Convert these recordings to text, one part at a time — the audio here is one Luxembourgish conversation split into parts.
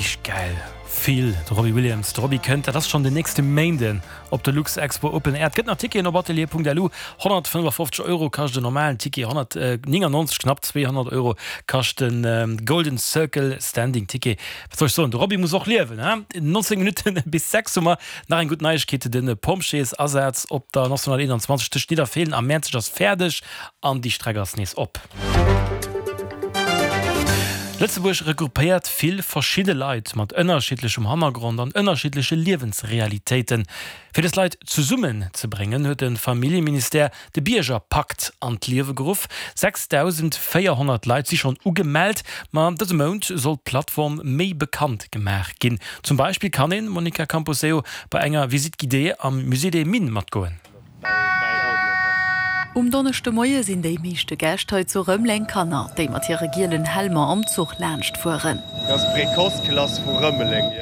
Richteg gäil. Feel, de Robbie Williams. De Robbie kënnt, dat ass schonn den nächste Méinden op de Luxexpo Open Air. Et gëtt nach Ticketen op atelier.lu. 155 Euro kascht en normalen Ticket, 199, knapp 200 Euro kascht de Golden Circle Standing Ticket. Wat soll ech soen, de Robbie muss och liewen, he? 19 Minutten bis 6 hu mer nach eng gutt Neiegkeet, De Pompjeesasaz op der National 21 tëscht Nidderfeelen a Mäerzeg ass fäerdeg an déi Streck ass nees op. Lëtzebuerg regroupéiert vill verschidde Leit mat ënnerschiddlechem Hannergrond an ënnerschiddleche Liewensrealitéiten. Fir dës Leit zesummen ze bréngen, huet de Familljeministère de Biergerpakt an d'Liewe geruff. 6.400 Leit si schonn ugemellt, ma dëse Mount soll d'Plattform méi bekannt gemaach ginn. Zum Beispill kann een, Monica Camposeo, bei enger Visite guidée am Musée des Mines matgoen. Um Donneschdemoie sinn déi meeschte Gäscht hei zu Rëmeleng Kanner, déi mat hire gielen Helmer am Zuch laanscht fueren.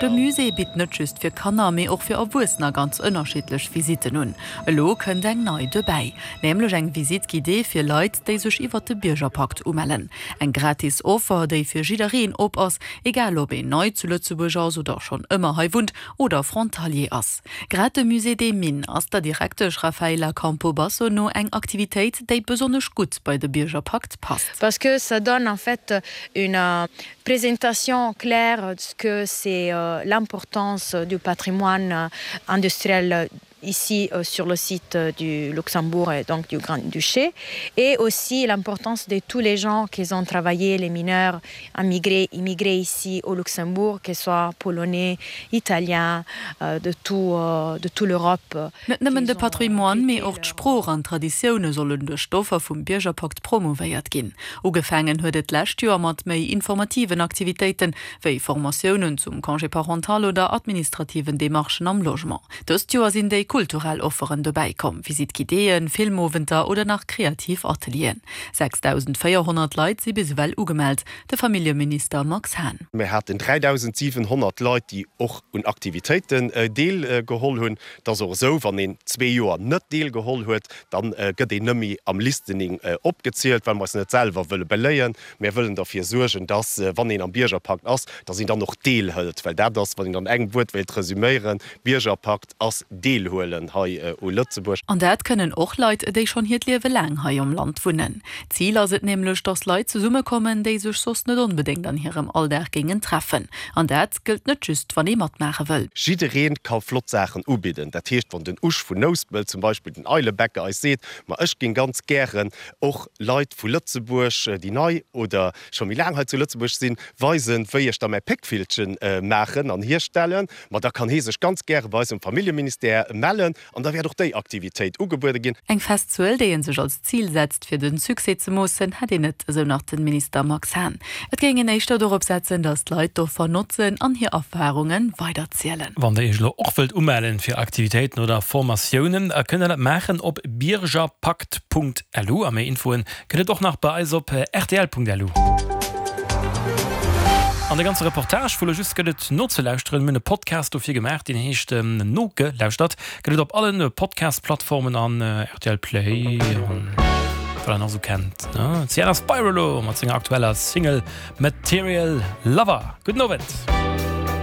De Musée bitt net just fir Kanner, mee och fir Erwuessener ganz ënnerschiddlech Visitten un. Elo kënnt eng nei dobäi, nämlech eng Visite guidée fir Leit, déi sech iwwert de Biergerpakt umellen. Eng gratis Offer, déi fir jiddereen op ass, egal ob een nei zu Lëtzebuerg ass oder schonn ëmmer hei wunnt oder Frontalier ass. Grad de Musée des Mines ass der Direktesch Rafaela Campobasso no eng Aktivitéit, déi besonnesch gutt bei de Biergerpakt passt. Parce que ça donne en fait une présentation claire de ce que c'est l'importance du patrimoine industriel ici sur le site du Luxembourg et donc du Grand-Duché et aussi l'importance de tous les gens qui ont travaillé, les mineurs immigrés, immigrés ici au Luxembourg, que ce soit polonais, italiens, de tout, de tout l'Europe. Net nëmmen de Patrimoine, mee och d'Sprooch an d'Traditioune sollen duerch d'Offer vum Biergerpakt promouvéiert ginn. Ugefaangen huet et d'lescht Joer mat méi informativen Aktivitéiten, wéi Formatiounen zum Congé parental oder administrativen Demarchen am Logement. Dëst Joer sinn déi kulturell Offeren dobäi komm, Visite guidéeën, Filmowenter oder nach kreativ Atelieren. 6.400 Leit si bis ewell ugemellt, de Familljeminister Max Hahn. Mir haten 3.700 Leit, déi och un Aktivitéiten deelgeholl hunn. Et ass och esou, wann een zwee Joer net deelgeholl huet, da gëtt een net méi am Listening opgezielt, well mer eis net selwer wëlle beléien. Mär wëllen derfir suergen, dass, wann een am Biergerpakt ass, dass een dann och deelhëlt, well dat ass, wann een an engem Wuert wéilt resüméieren, Biergerpakt ass Deelhuelen hei u Lëtzebuerg. An dat kënnen och Leit, déi schonn hiert Liewe laang hei am Land wunnen. Zil ass et nämlech, dass Leit zesummekommen, déi sech soss net onbedéngt an hirem Alldag géingen treffen. An dat gëllt net just, wann ee matmaache wëll. Jidderee ka flott Saachen ubidden. Dat heescht, wann den Usch vun Nouspelt zum Beispill, den Eilebäcker, eis seet, Ma ech géing ganz gären och Leit vu Lëtzebuerg, déi nei oder scho méi laang hei zu Lëtzebuerg sinn, weisen, wéi ech da mäi Péckvillchen maachen an hierstellen. Ma da kann hee sech ganz gäre bei eis um Familljeministère mellen an da wäert och déi Aktivitéit ugebuede ginn. Eng fest Zuel, déi ee sech als Zil setzt, fir de Succès ze moossen, hätt een net, esou nach de Minister Max Hahn. Et géing een éischter dorop setzen, datt d'Leit d'Offer notzen an hir Erfarunge weiderzielen. Wann der iech elo och wëllt umellen fir Aktivitéiten oder Formatiounen, da kënnt der dat maachen op biergerpakt.lu a méi Infoen gëtt et och nach bei eis op rtl.lu. An de ganze Reportage vu lo just gëtt et nozelauschteren. Mir hunn e Podcast dofir gemaach, deen heescht Nogelauschtert. Gëtt et op allen Podcast-Plattformen an rtl Play an wat der nach esou kennt. D'Sienna Spiro elo mat senger aktueller Single Material Lover. Gudden Owend.